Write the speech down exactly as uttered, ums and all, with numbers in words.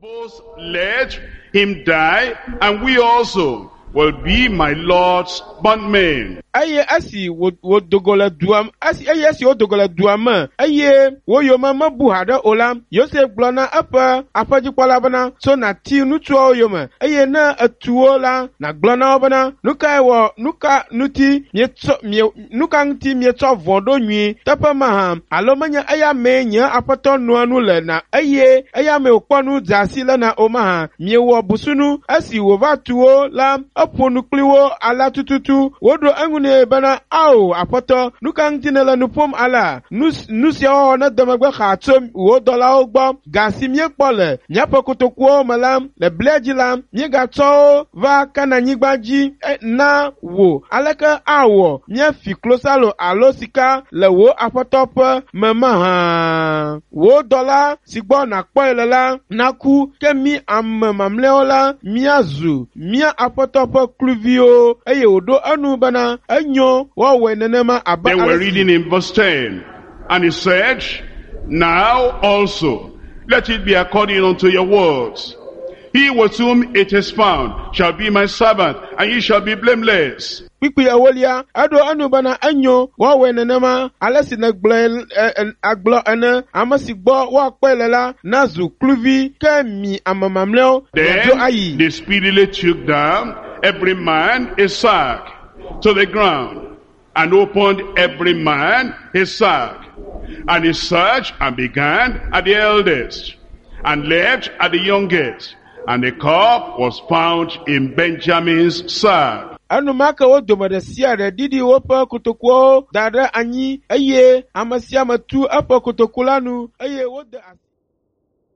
Both let him die, and we also will be my Lord's bondmen. Eye esi wò- wòdo go le dua esi eye esi wodo go le dua me eye wo yome mebu haɖe o la, Yosef gblɔ na eƒe aƒedzikpɔla bena, tso nàti ŋutsuawo yome eye ne etu wo la, nàgblɔ na wo bena, nu kae wɔ nu ka ŋuti mietsɔ mie nu ka ŋuti mietsɔ vɔ̃ ɖo nyui teƒe mahã alo menye eya mee nye aƒetɔ noa nu le na eye eya mee wòkpɔ nu dze asi lena o mahã miewɔ busunu esi wòva tu wo la eƒo nu kpli wo alea tututu woɖo eŋu nɛ bena ao aƒetɔ nu ka ŋuti nèle nu ƒom alea nu nu sia wɔwɔ nede megbe xaa tso wò dɔlawo gbɔ ga si míekpɔ le míaƒe kotokuwo me la le blia dzi la míegatsɔ wo va kananyigba dzi e, na wò aleke awɔ míafi klosalo alo sika le wò aƒetɔ ƒe me mahã wò dɔla si gbɔ nàkpɔe le la naku ke mí ame mamlɛawo la míazu mía aƒetɔ ƒe kluviwo eye wòɖo enu bena enyo woawɔe nenema abe Then we're ale si reading in verse ten. And he said, Now also, let it be according unto your words. He with whom it is found shall be my servant, and ye shall be blameless. Kpukpui ewolia eɖo enu bena enyo woawɔe nenema ale si nègblɔe ɛ, ɛ, agblɔ ene ame si gbɔ woakpɔe le la nazu kluvi ke mi ame mamlɛawo miadzo Then ayi. they speedily took down every man his sack to the ground, and opened every man his sack. And he searched and began at the eldest, and left at the youngest. And the cup was found in Benjamin's sack. Enumake wo dome ɖe sia ɖe ɖiɖi woƒe kotokuwo da ɖe anyi eye ame sia ame tu eƒe kotoku la nu eye wode asi.